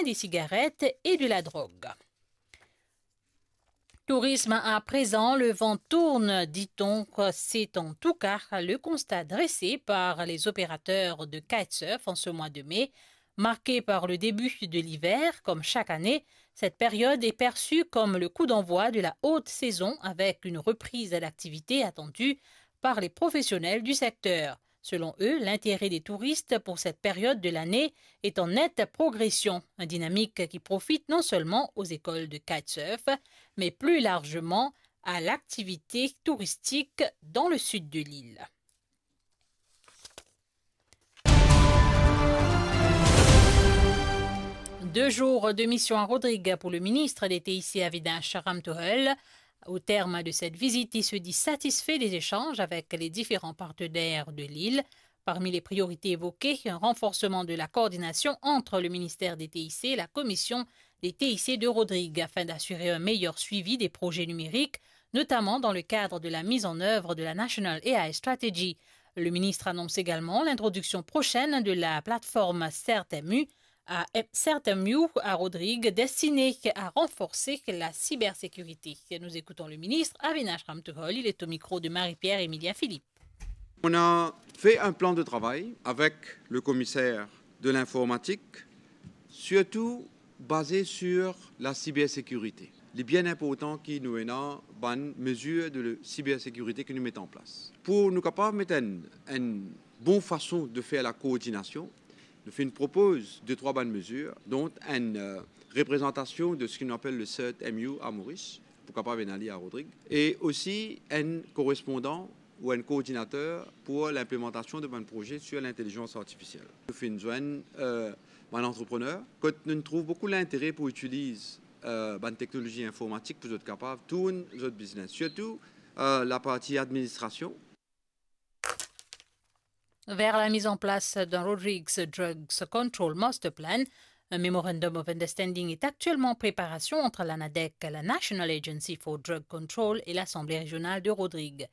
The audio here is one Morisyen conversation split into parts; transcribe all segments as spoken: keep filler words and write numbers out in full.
des cigarettes et de la drogue. Tourisme à présent, le vent tourne, dit-on. C'est en tout cas le constat dressé par les opérateurs de kitesurf en ce mois de mai, marqué par le début de l'hiver. Comme chaque année, cette période est perçue comme le coup d'envoi de la haute saison, avec une reprise d'activité attendue par les professionnels du secteur. Selon eux, l'intérêt des touristes pour cette période de l'année est en nette progression, une dynamique qui profite non seulement aux écoles de kitesurf, mais plus largement à l'activité touristique dans le sud de l'île. Deux jours de mission à Rodrigues pour le ministre des T I C Avinash Ramtohul. Au terme de cette visite, il se dit satisfait des échanges avec les différents partenaires de l'île. Parmi les priorités évoquées, un renforcement de la coordination entre le ministère des T I C et la commission des T I C de Rodrigues afin d'assurer un meilleur suivi des projets numériques, notamment dans le cadre de la mise en œuvre de la National A I Strategy. Le ministre annonce également l'introduction prochaine de la plateforme CERT-M U à, CERT-M U à Rodrigues, destinée à renforcer la cybersécurité. Nous écoutons le ministre Avinash Ramtohul, il est au micro de Marie-Pierre Emilia Philippe. On a fait un plan de travail avec le commissaire de l'informatique, surtout basé sur la cybersécurité. Li bien inportan ki nou ena bann mezir de cybersécurité ki nou met an plas. Pou nou kapav met enn, enn bon fason de fer la koordinasion, nou finn propoz de trwa bann mezir, dont enn, euh, reprezantasion de seki nou apel le CERT-M U à Maurice, pou kapav ena li à Rodrigues, e osi enn korespondan ou enn koordinater pou linplemantasion de bann proze sur lintelizans artifisiel. Nou finn zwenn, euh, bann antreprener, kot nou trouv boukou lintere pou itiliz, euh, bann teknolozi informatik pou zot kapav tourn zot biznes, sirtou, euh, laparti administrasion. Vers la mise en place d'un Rodrigues Drugs Control Master Plan, un Memorandum of Understanding est actuellement en préparation entre la NADEC, la National Agency for Drug Control, et l'Assemblée régionale de Rodrigues.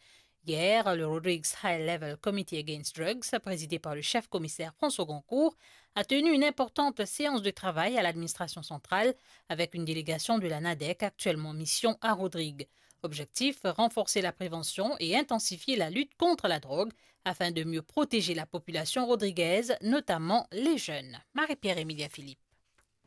Hier, le Rodrigues High Level Committee Against Drugs, présidé par le chef commissaire François Grandcourt, a tenu une importante séance de travail à l'administration centrale avec une délégation de la NADEC actuellement en mission à Rodrigues. Objectif, renforcer la prévention et intensifier la lutte contre la drogue afin de mieux protéger la population rodriguaise, notamment les jeunes. Marie-Pierre Emilia Philippe.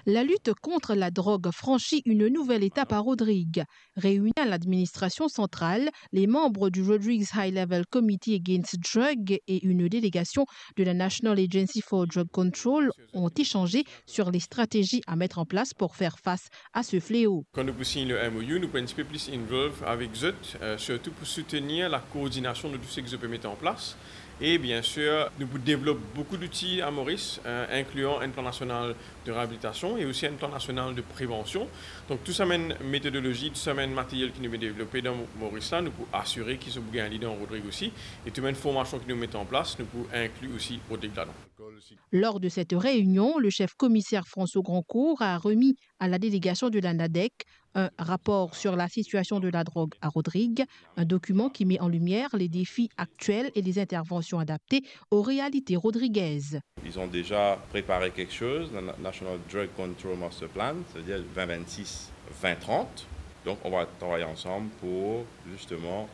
La lutte contre la drogue franchit une nouvelle étape à Rodrigues. Réunis à l'administration centrale, les membres du Rodrigues High Level Committee Against Drug et une délégation de la National Agency for Drug Control ont échangé sur les stratégies à mettre en place pour faire face à ce fléau. Kan nou pou sign le M O U, nou pou enn tipe plis involve avek zot, euh, sirtou pou soutenir la koordinasion de tou seki zot pe met an plas. E bien sir, nou pou devlop boukou zouti à Maurice, euh, inklian enn plan nasional de reabilitasion e osi enn plan nasional de prevansion. Donk, tou sa bann metodolozi, tou sa bann materyel ki nou pe devlope dan Maurice la, nou pou asire ki zot pou gagn li dan Rodrigues osi. E tou bann formasion ki nou met an plas, nou pou inkli osi Rodrigues ladan. Lors de cette réunion, le chef commissaire François Grandcourt a remis à la délégation de la NADEC un rapport sur la situation de la drogue à Rodrigues, un document qui met en lumière les défis actuels et les interventions adaptées aux réalités rodriguaises. Ils ont déjà préparé quelque chose, le Na-, National Drug Control Master Plan, c'est-à-dire vingt vingt-six, vingt trente. Donc, on va travailler ensemble pour justement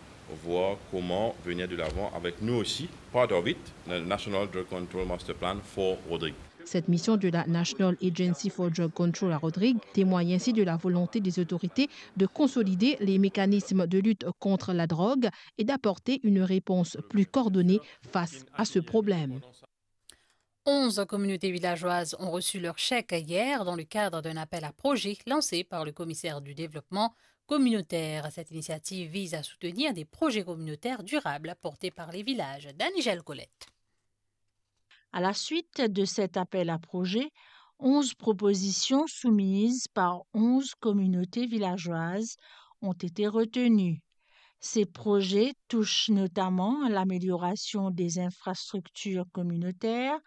voir comment venir de l'avant avec nous aussi, part of it, le National Drug Control Master Plan for Rodrigues. Cette mission de la National Agency for Drug Control à Rodrigues témoigne ainsi de la volonté des autorités de consolider les mécanismes de lutte contre la drogue et d'apporter une réponse plus coordonnée face à ce problème. Onze communautés villageoises ont reçu leur chèque hier dans le cadre d'un appel à projets lancé par le commissaire du développement communautaire. Cette initiative vise à soutenir des projets communautaires durables portés par les villages. Dany Gelcolet. À la suite de cet appel à projets, onze propositions soumises par onze communautés villageoises ont été retenues. Ces projets touchent notamment à l'amélioration des infrastructures communautaires,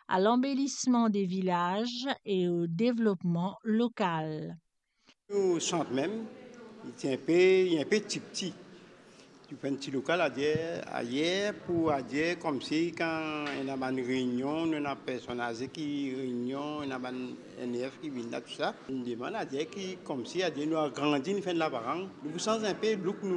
à l'embellissement des villages et au développement local. Nou sant mem, li ti inpe, li inpe tipti. Nou fer enn ti lokal ayer, ayer pou ayer, koumsi kan ena bann reynion, nou ena personn aze ki reynion, ena bann N F ki vinn la, tou sa. Nou demann ayer ki koumsi ayer nou agrandi, nou fer enn laparang. Nou pou sanz inpe look nou